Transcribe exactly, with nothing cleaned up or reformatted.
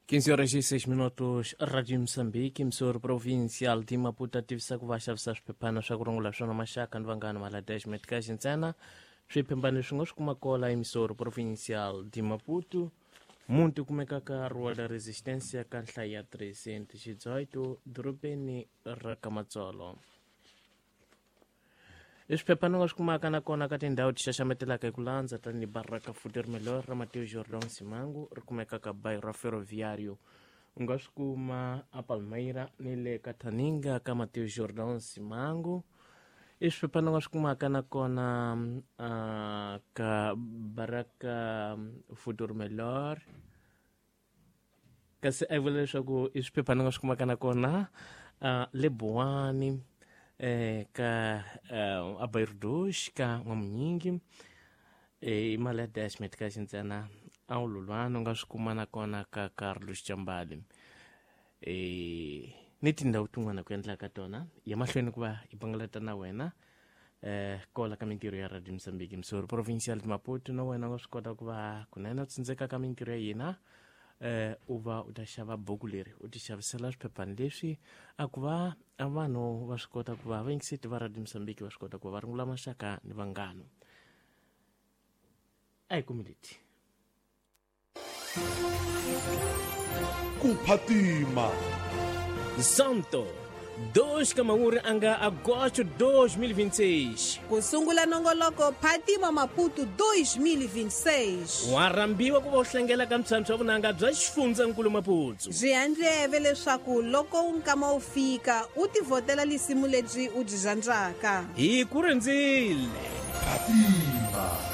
quinze horas e seis minutos, Rádio Moçambique, emissora provincial de Maputo, ativisa ku va xavisa swiphephana swa ku rungula swona maxaka ni vanghana mala dez meticais ntsena. Swiphephana leswi nga swi kuma kola emissora provincial de Maputo, muti kumeka ka Rua da Resistência ka nhlayo ya trezentos e dezoito, dorobeni ra Kamatsolo. I swiphephana nga swi kumaka nakona ka tindhawu ti xaxametelaka hi ku landza tanihi Baraka Futuro Melhor ra Mateus Jordão Simango ri kumeka ka bairro Ferroviário. U nga swi kuma a Palmeira ni le ka Thaninga ka Mateus Jordão Simango. I swiphephana nga swi kumaka nakona uh, ka Baraka Futuro Melhor, kasi a vula leswaku i swiphephana nga swi kumaka nakona uh, le Buwani, eh, ka uh, a Bairro dos ka N'wamunyingi, eh, i mali ya dez meticais ntsena. A wu lulwana u nga swi kuma nakona ka Carlos Chambali, eh, ni tindhawu tin'wana ku endla ka tona ya mahlweni ku va hi bangalata na wena eh, kola ka mintirho ya Radio Moçambique, emissora provincial de Maputo. Na wena u nga swi kota ku va kunene u tsindzeka ka mintirho ya hina, eh, u va u ta xava buku leri u ti xavisela swiphephana leswi a ku va a vanhu va swi kota ku va vayingiseti va Radio Moçambique va swi kota ku va va rungula maxaka ni vanghana. A hi kumi leti ku phatima Santo dois Kamauri anga agosto dois mil e vinte e seis. Ku sungula nongoloko Phatima Maputo dois mil e vinte e seis. Wa rhambiwa ku va u hlangela ka mphyamphya vunanga bya xifundzankulu Maputo. Byi handleve leswaku loko nkama wu fika u tivhotela lisimu lebyi u byi rhandzaka. Hi ku rindzile. Phatima.